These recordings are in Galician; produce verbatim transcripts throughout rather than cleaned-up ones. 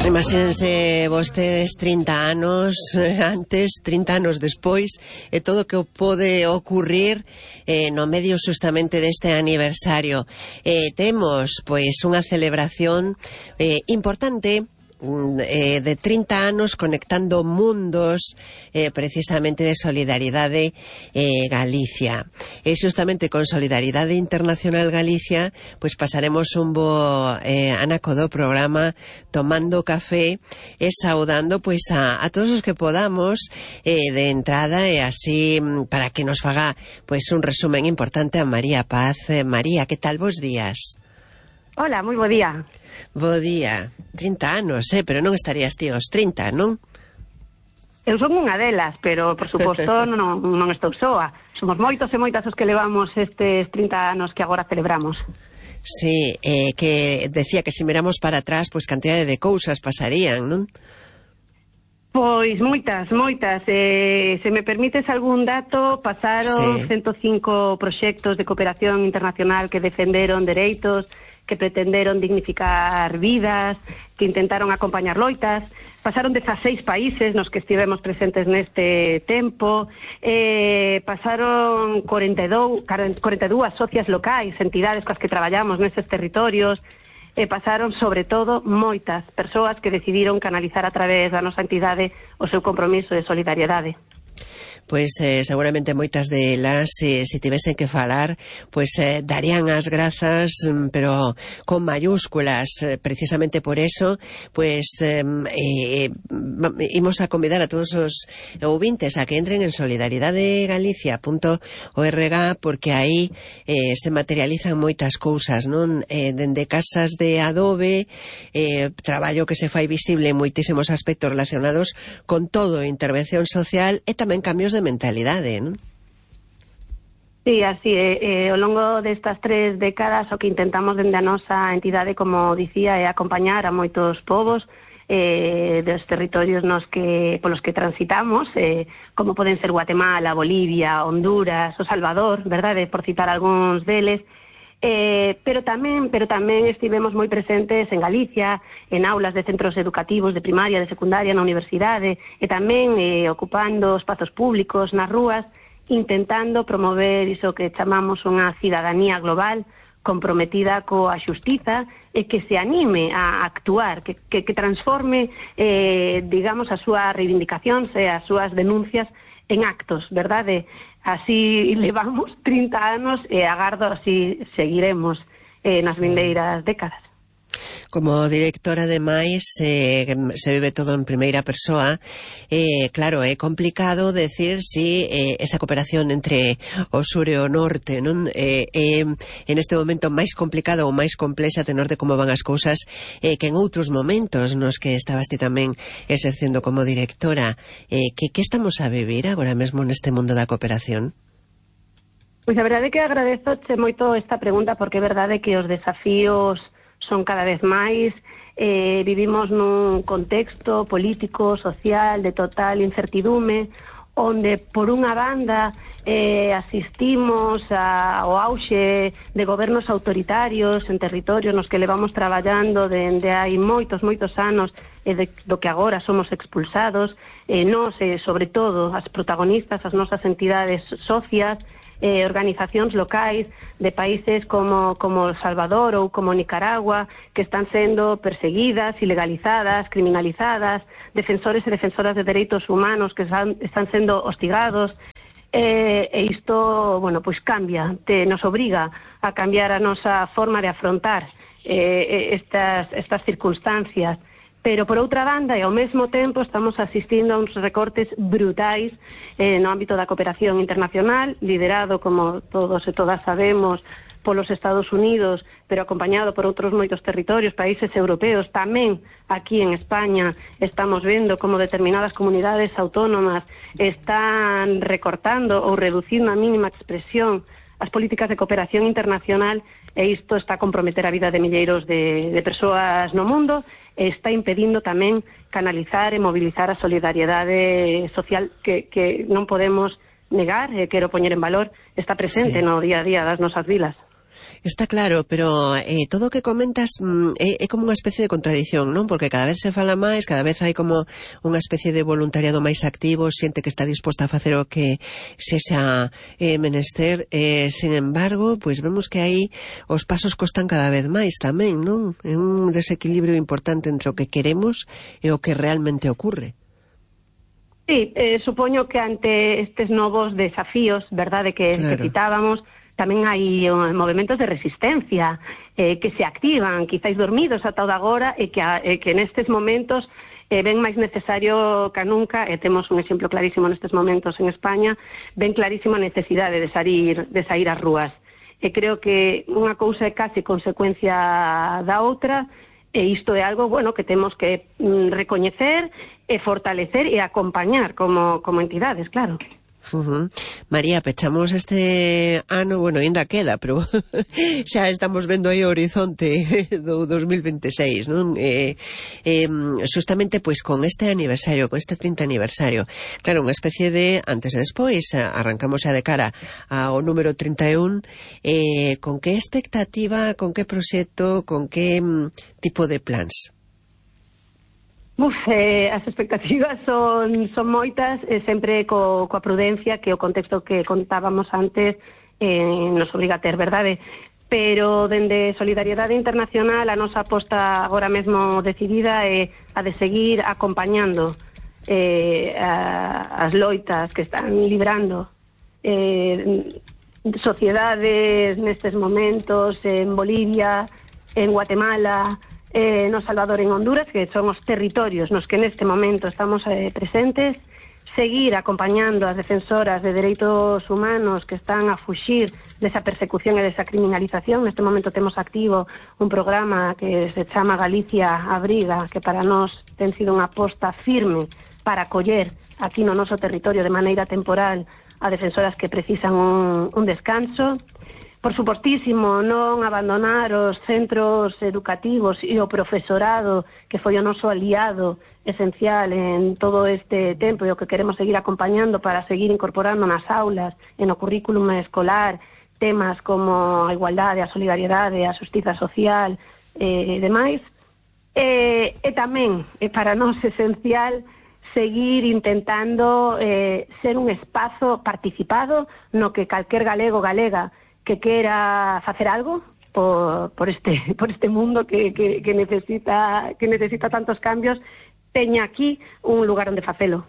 Imagínense vostedes trinta anos antes, trinta anos despois, e todo o que pode ocurrir eh, no medio justamente deste aniversario. Eh, temos, pois, unha celebración eh, importante Eh, de trinta anos conectando mundos eh, precisamente de Solidaridade eh, Galicia. E justamente con Solidaridade Internacional Galicia pois pasaremos un bo eh, anaco do programa tomando café e saudando pois a, a todos os que podamos eh, de entrada, e así para que nos faga pois un resumen importante a María Paz. eh, María, que tal vos días? Hola, moi bo día. Bo día. trinta anos, eh? Pero non estarías ti aos trinta, non? Eu son unha delas, pero, por suposto, non, non estou soa. Somos moitos e moitas os que levamos estes trinta anos que agora celebramos. Sí, eh, que decía que se miramos para atrás, pois cantidade de cousas pasarían, non? Pois moitas, moitas. Eh, se me permites algún dato, pasaron sí. ciento cinco proxectos de cooperación internacional que defenderon dereitos, que pretenderon dignificar vidas, que intentaron acompañar loitas. Pasaron dezaseis países nos que estivemos presentes neste tempo. Eh, pasaron corenta e dúas socias locais, entidades coas que traballamos nestes territorios. E pasaron, sobre todo, moitas persoas que decidiron canalizar a través da nosa entidade o seu compromiso de solidariedade. Pois eh, seguramente moitas delas, se, se tivesen que falar, pois eh, darían as grazas, pero con mayúsculas. Eh, precisamente por eso, pois eh, eh, imos a convidar a todos os ouvintes a que entren en solidaridade galicia punto org, porque aí eh, se materializan moitas cousas, non? Eh, dende casas de adobe, eh, traballo que se fai visible en moitísimos aspectos relacionados con todo, intervención social e tamén cambios de mentalidade, non? Sí, así é. Eh, ao longo destas tres décadas o que intentamos dende a nosa entidade, como dicía, é acompañar a moitos povos eh, dos territorios nos que polos que transitamos, eh, como poden ser Guatemala, Bolivia, Honduras, o Salvador, verdade, por citar algúns deles. Eh, pero tamén pero tamén estivemos moi presentes en Galicia, en aulas de centros educativos de primaria, de secundaria, na universidade, e tamén eh, ocupando espazos públicos nas rúas, intentando promover iso que chamamos unha cidadanía global comprometida coa xustiza e que se anime a actuar, que, que, que transforme, eh, digamos, as súas reivindicacións e as súas denuncias en actos, verdade? Así levamos trinta anos e agardo así seguiremos eh, nas vindeiras décadas. Como directora, ademais, eh, se vive todo en primeira persoa. Eh, claro, é complicado decir si eh, esa cooperación entre o sur e o norte, non? Eh, eh, en este momento máis complicado ou máis complexa, a tenor de como van as cousas, eh, que en outros momentos nos que estabas ti tamén exercendo como directora. Eh, que, que estamos a vivir agora mesmo neste mundo da cooperación? Pois a verdade é que agradezoche moito esta pregunta, porque é verdade que os desafíos son cada vez máis. Eh, vivimos nun contexto político, social, de total incertidume, onde, por unha banda, eh, asistimos a, ao auxe de gobernos autoritarios en territorios nos que levamos traballando dende hai moitos, moitos anos, e de, do que agora somos expulsados. Eh, nos, eh, sobre todo, as protagonistas, as nosas entidades socias, Eh, organizacións locais de países como, como El Salvador ou como Nicaragua, que están sendo perseguidas, ilegalizadas, criminalizadas, defensores e defensoras de dereitos humanos que están, están sendo hostigados, eh, e isto, bueno, pois cambia, te, nos obriga a cambiar a nosa forma de afrontar eh, estas, estas circunstancias. Pero, por outra banda, e ao mesmo tempo, estamos asistindo a uns recortes brutais eh, no ámbito da cooperación internacional, liderado, como todos e todas sabemos, polos Estados Unidos, pero acompañado por outros moitos territorios, países europeos. Tamén aquí en España estamos vendo como determinadas comunidades autónomas están recortando ou reducindo a mínima expresión as políticas de cooperación internacional, e isto está a comprometer a vida de milleiros de, de persoas no mundo, e está impedindo tamén canalizar e mobilizar a solidariedade social que, que non podemos negar, e quero poñer en valor, está presente sí. no día a día das nosas vilas. Está claro, pero eh, todo o que comentas mm, é, é como unha especie de contradición, non? Porque cada vez se fala máis, cada vez hai como unha especie de voluntariado máis activo, xente que está disposta a facer o que se xa eh, menester, eh, sin embargo, pois vemos que aí os pasos costan cada vez máis tamén, non? É un desequilibrio importante entre o que queremos e o que realmente ocurre. Sí, eh, supoño que ante estes novos desafíos, verdade, que, claro, que citábamos, tamén hai uh, movimentos de resistencia eh, que se activan, quizáis dormidos ata o de agora, e que, a, eh, que nestes momentos eh, ven máis necesario que nunca, e temos un exemplo clarísimo nestes momentos en España, ven clarísima a necesidade de sair, de sair ás rúas. E creo que unha cousa é case consecuencia da outra, e isto é algo, bueno, que temos que mm, recoñecer e fortalecer e acompañar como, como entidades, claro. Uh-huh. María, pechamos este ano, bueno, ainda queda, pero xa estamos vendo aí o horizonte do dos mil veintiséis, non? Eh, eh, justamente, pois, con este aniversario, con este trinta aniversario, claro, unha especie de antes e despois, arrancamos xa de cara ao número trinta e un, eh, con que expectativa, con que proxecto, con que mm, tipo de plans? Uf, eh, as expectativas son, son moitas, eh, sempre co, coa prudencia que o contexto que contábamos antes eh, nos obriga a ter, verdade? Pero dende Solidariedade Internacional a nosa aposta agora mesmo decidida é a de seguir acompañando eh, a, as loitas que están librando eh, sociedades nestes momentos en Bolivia, en Guatemala, Eh, no Salvador, en Honduras, que son os territorios nos que neste momento estamos eh, presentes, seguir acompañando as defensoras de dereitos humanos que están a fuxir desa persecución e desa criminalización. Neste momento temos activo un programa que se chama Galicia Abriga, que para nós ten sido unha aposta firme para acoller aquí no noso territorio de maneira temporal a defensoras que precisan un, un descanso. Por supostísimo, non abandonar os centros educativos e o profesorado, que foi o noso aliado esencial en todo este tempo e o que queremos seguir acompañando para seguir incorporando nas aulas e no currículum escolar temas como a igualdade, a solidariedade, a xustiza social e demais. E, e tamén, é para nós esencial, seguir intentando eh, ser un espazo participado no que calquer galego galega que quera facer algo por, por, este, por este mundo que, que, que, necesita, que necesita tantos cambios, teña aquí un lugar onde facelo.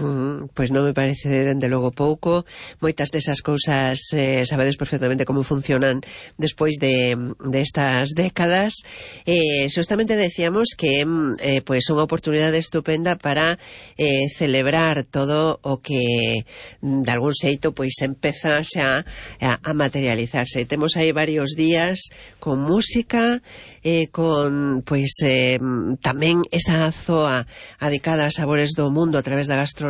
Mm, pois non me parece dende logo pouco. Moitas desas cousas eh, sabedes perfectamente como funcionan despois de, de estas décadas. Eh, justamente decíamos que eh, pois unha oportunidade estupenda para eh, celebrar todo o que de algún xeito pois empeza xa a, a materializarse. Temos aí varios días con música, eh, con pois eh, tamén esa zoa adicada a sabores do mundo a través da gastronomía,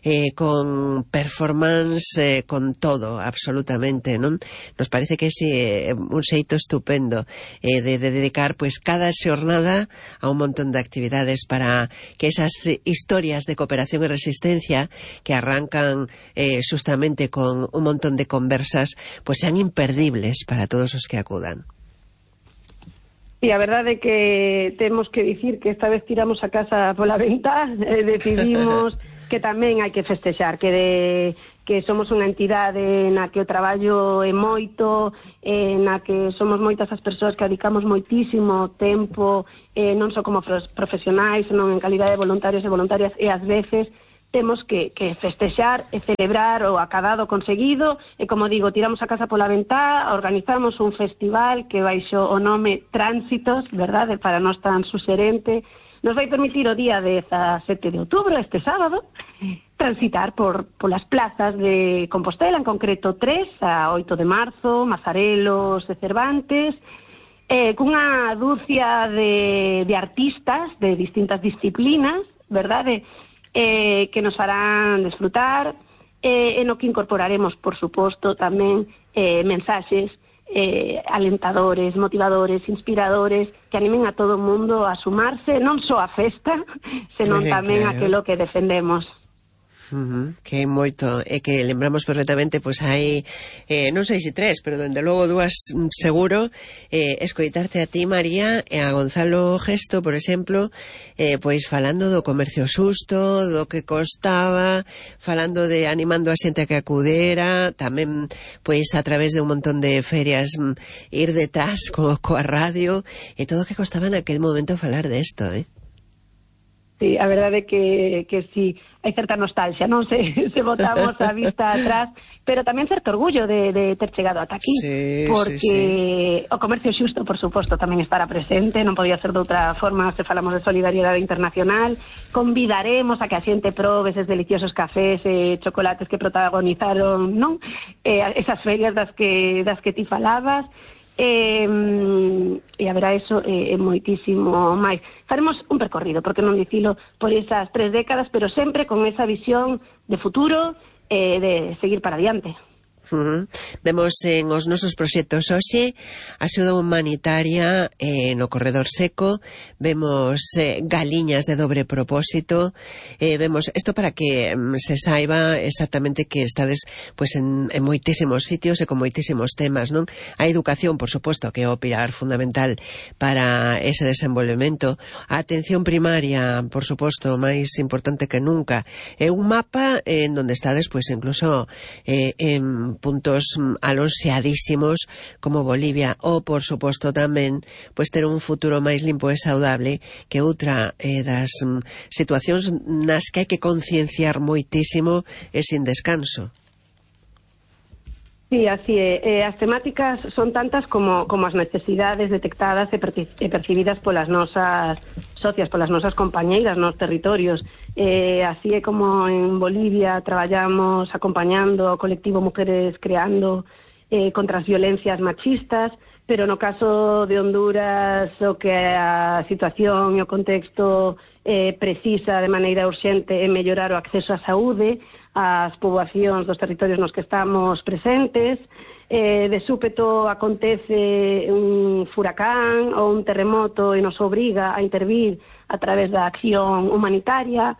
eh, con performance, eh, con todo, absolutamente, non? Nos parece que é eh, un xeito estupendo eh, de, de dedicar pois cada xornada a un montón de actividades para que esas historias de cooperación e resistencia que arrancan eh, justamente con un montón de conversas pois sean imperdibles para todos os que acudan. E a verdade é que temos que dicir que esta vez tiramos a casa pola ventá, eh, decidimos que tamén hai que festexar, que de, que somos unha entidade na que o traballo é moito, eh, na que somos moitas as persoas que dedicamos moitísimo tempo, eh, non só como profesionais, senón en calidade de voluntarios e voluntarias, e ás veces temos que, que festexar e celebrar o acadado conseguido, e como digo, tiramos a casa pola ventá, organizamos un festival que baixo o nome Tránsitos, verdade, para nós tan suxerente, nos vai permitir o día dezasete de outubro, este sábado, transitar por polas plazas de Compostela, en concreto tres, a oito de marzo, Mazarelos e Cervantes, eh, cunha dúcia de, de artistas de distintas disciplinas, verdade, Eh, que nos farán desfrutar, eh, en o que incorporaremos, por suposto, tamén eh, mensaxes eh, alentadores, motivadores, inspiradores, que animen a todo o mundo a sumarse, non só a festa, senón tamén claro. Aquilo que defendemos. Uh-huh, que hai moito, e que lembramos perfectamente, pois hai, eh, non sei se tres, pero dende logo dúas seguro, eh, escoitarte a ti, María, e a Gonzalo Gesto, por exemplo, eh, pois falando do comercio xusto, do que costaba, falando de animando a xente a que acudera, tamén, pois, a través de un montón de ferias, ir detrás co, coa radio, e todo o que costaba naquel momento falar desto, eh? Sí, a verdade é que, que sí, hai certa nostalgia, non se, se botamos a vista atrás, pero tamén certo orgullo de, de ter chegado ata aquí, sí, porque sí, sí. O comercio xusto, por suposto, tamén estará presente, non podía ser de outra forma se falamos de solidariedade internacional. Convidaremos a que a xente probe eses deliciosos cafés e chocolates que protagonizaron, non? Eh, esas ferias das que, das que ti falabas. E, e haberá eso e, e moitísimo máis. Faremos un percorrido, porque non dicilo, por esas tres décadas, pero sempre con esa visión de futuro e de seguir para adiante. Uh-huh. Vemos en os nosos proxectos hoxe axuda humanitaria eh, no corredor seco, vemos eh, galiñas de dobre propósito, eh, vemos isto para que mm, se saiba exactamente que estades pues, en, en moitísimos sitios e con moitísimos temas, non? A educación, por suposto, que é o pilar fundamental para ese desenvolvemento, a atención primaria, por suposto, máis importante que nunca, é un mapa en donde estades, pues, incluso eh, en puntos alonxeadísimos como Bolivia, ou por suposto tamén pois ter un futuro máis limpo e saudable, que outra eh, das mm, situacións nas que hai que concienciar moitísimo e sin descanso. Sí, así é. Eh, as temáticas son tantas como, como as necesidades detectadas e, perci e percibidas polas nosas socias, polas nosas compañeiras nos territorios. Eh, así é como en Bolivia traballamos acompañando ao colectivo Mujeres Creando eh, contra as violencias machistas, pero no caso de Honduras o que a situación e o contexto eh, precisa de maneira urxente é mellorar o acceso á saúde ás poboacións dos territorios nos que estamos presentes. Eh, de súpeto acontece un furacán ou un terremoto e nos obriga a intervir a través da acción humanitaria.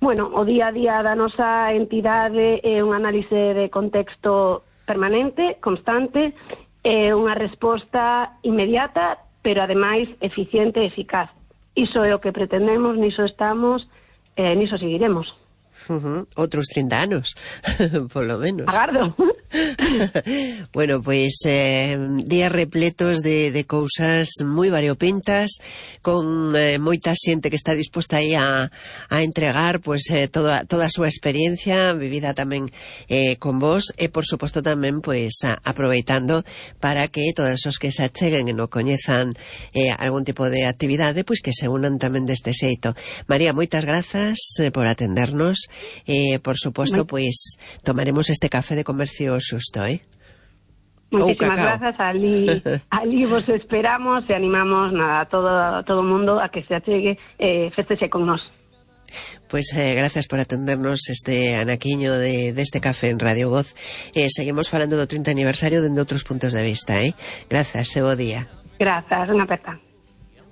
Bueno, o día a día da nosa entidade é un análise de contexto permanente, constante, é unha resposta inmediata, pero ademais eficiente e eficaz. Iso é o que pretendemos, niso estamos, e niso seguiremos. Uh-huh. Outros trinta anos, polo menos. Agardo. Bueno, pois eh, días repletos de, de cousas moi variopintas, con eh, moita xente que está disposta aí a, a entregar pois, eh, toda, toda a súa experiencia vivida tamén eh, con vos, e por suposto tamén pois a, aproveitando para que todos os que se acheguen e non coñezan eh, algún tipo de actividade, pois que se unan tamén deste xeito. María, moitas grazas eh, por atendernos. Eh, por suposto, pois tomaremos este café de comercio xusto, eh? Muchísimas grazas, ali, ali vos esperamos e animamos nada, a todo todo o mundo a que se achegue e eh, festexe con nós. Pois eh, gracias por atendernos este anaquiño de, deste café en Radio Voz. Eh, seguimos falando do trinta aniversario dende outros puntos de vista, eh? Grazas, e bo día. Grazas, unha aperta.